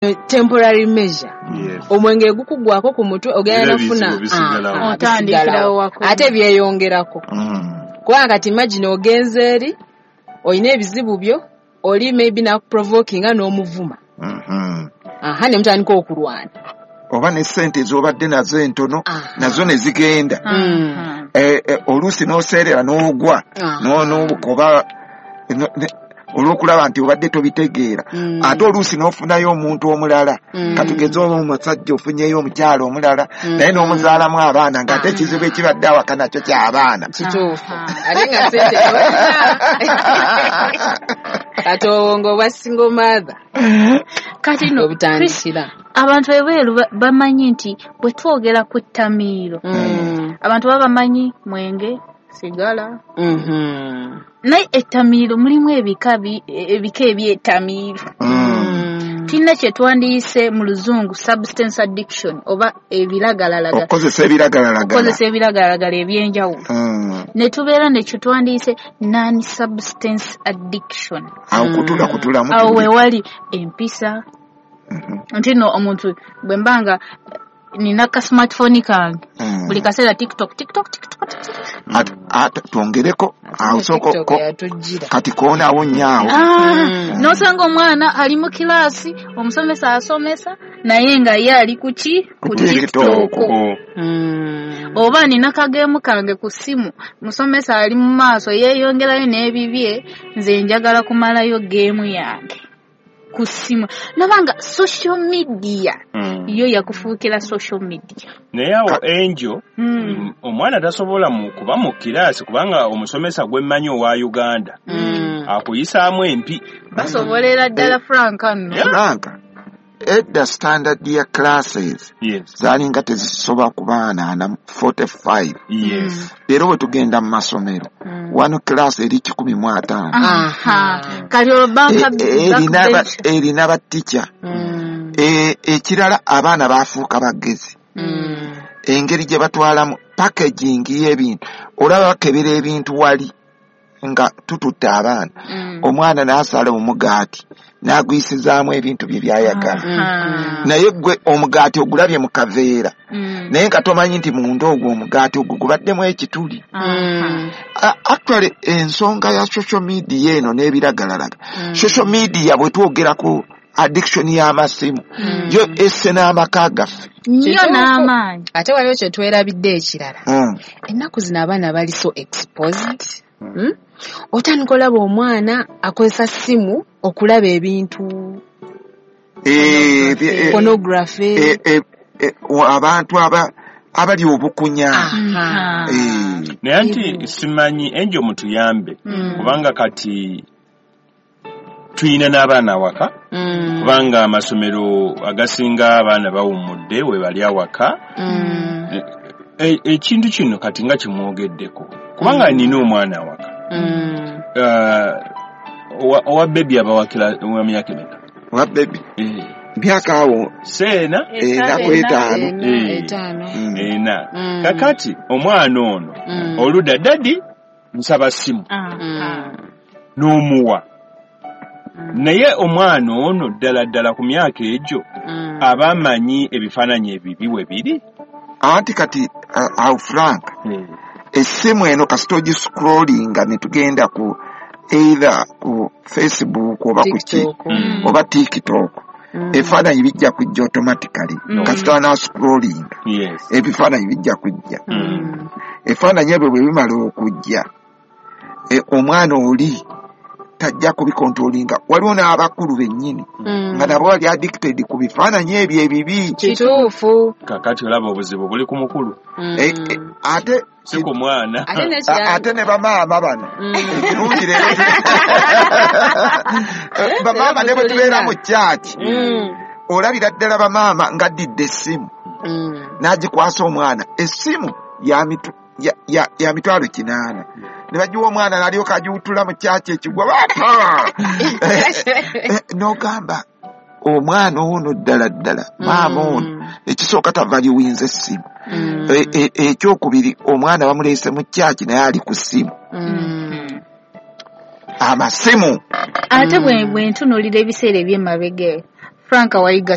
Temporary measure. Omwenge gukugwako ku mutwe, ogenda Era nofuna ebizibu bisigalawo. Aha, Otandikirawo bisigalawo. wako. Ate byeyongerako, kubanga kati imagine ogenze eri olina ebizibu byo, oli maybe nakuprovokinga n'omuvuma, aha, ne mutandika okulwana. Oba ne sente z'obadde nazo entono nazo ne zigenda. Oluusi n'oseerera n'ogwa n'obukoba olw'okulaba nti obadde tobitegeera. Ate oluusi n'ofunayo omuntu omulala, katugeze oba omusajja ofunyeyo omukyala omulala, naye n'omuzaalamu abaana, ng'ate ekizibu ekibadde awaka nakyo ky'abaana. Kituufu, ate nga sente tolina. Kati obwo ng'obwa single mother Kati no obutandikira. Abantu ebweru bamanyi nti bwe twogera ku ttamiiro, abantu baba bamanyi mwenge, sigala, naye ettamiiro mulimu ebika ebika eby'ettamiiro. Tulina kye twandiyise mu Luzungu substance addiction oba ebiragalalagala. Okukozesa ebiragalalagala. Okukozesa ebiragalalagala ebyenjawulo. Ne tubeera ne kye twandiyise non substance addiction. Awo kutula kutulamu. Awo wewali empisa, nti no omuntu bwe mba nga nina ka smartphone kange, buli kaseera TikTok, TikTok, TikTok, TikTok. Ate twongereko awo, sooka TikTok yatujjira. Kati koonaawo nnyo awo. Ah, n'osanga omwana ali mu kilaasi, omusomesa asomesa, naye nga ye ali ku ki? Ku TikTok. Oh. Oba nina kageemu kange ku ssimu, musomesa ali mu maaso yeeyongerayo n'ebibye, nze njagala kumalayo geemu yange ku ssimu. Nabanga social media yo yakufuukira social media. Naye awo enjo omwana tasobola mu kuba mu kiraasi, kubanga omusomesa gwe mmanyi owa Uganda akuyisaamu empi. Basobolera ddala, Frank, nno. Frank, edda standard ya classes zaalinga tezisoba ku baana 45. Leero bwe tugenda mu masomero, wano class eri 150. Aha. Kati olwo banka Erina batica. Ekirala, abaana bafuuka bagezi, engeri gye batwalamu packaging y'ebintu. Olaba bakebera ebintu wali nga tututte abaana, omwana n'asala omugaati n'agwisizaamu ebintu bye byayagala, naye gwe omugaati ogulabye mu kaveera, naye nga tomanyi nti munda ogwo omugaati ogwo gubaddemu ekituli. Actually, ensonga ya social media eno n'ebiragalalagala, social media bwe twogera ku addiction y'amasimu, yo esse n'amaka gaffe. Nnyo. Kituufu. N'amaanyi. Ate waliwo kye twerabidde ekirala. Ennaku zino abaana bali so exposed. Otandika olaba omwana akozesa simu okulaba ebintu, pornography. Abantu abali obukunya. Naye nti simanyi, enjo mutuyambe, kubanga kati tuyina n'abaana awaka, kubanga amasomero agasinga abaana bawummudde, we bali awaka. Ekintu kino kati nga kimwogeddeko, kubanga nina omwana awaka. Owa baby abawakira wa myaka emeka? Owa baby myaka awo seena. Ena ku etaano. Ena, etaano. Ena. Kakati omwana ono oludda, "Daddy, nsaba simu," n'omuwa, naye omwana ono ddala ddala ku myaka egyo aba amanyi ebifaananyi ebibi we biri? Anti kati awo, Frank, essimu eno kasita ogiscrollinga ne tugenda ku either ku Facebook oba ku ki, TikTok. Oba TikTok, ebifaananyi bijja kujja automatically. Kasita wanascrollinga, ebifaananyi bijja kujja. Ebifaananyi ebyo bwe bimala okujja, omwana oli tajja kubikontrolinga. Waliwo n'abakulu bennyini nga nabo bali addicted ku bifaananyi ebyo ebibi. Kituufu. Kakati olaba obuzibu buli ku mukulu, Ate si ku mwana. Ate n'ekirala, ate ne bamaama bano, ekirungi leero bamaama ne bwe tubeera mu kyaki, olabira ddala bamaama ng'addidde essimu n'agikwasa omwana, essimu ya 800,000, ne bagiwa omwana n'alyoka agiwutula mu kyaki ekigwa. N'ogamba omwana ono ddala ddala maama ono ekisooka tavaliwinza essimu. Ekyokubiri, omwana bamuleese mu kyaki naye ali ku ssimu, amasimu. Ate bwe ntunuulira ebiseera eby'emabega eyo, Frank wayiga.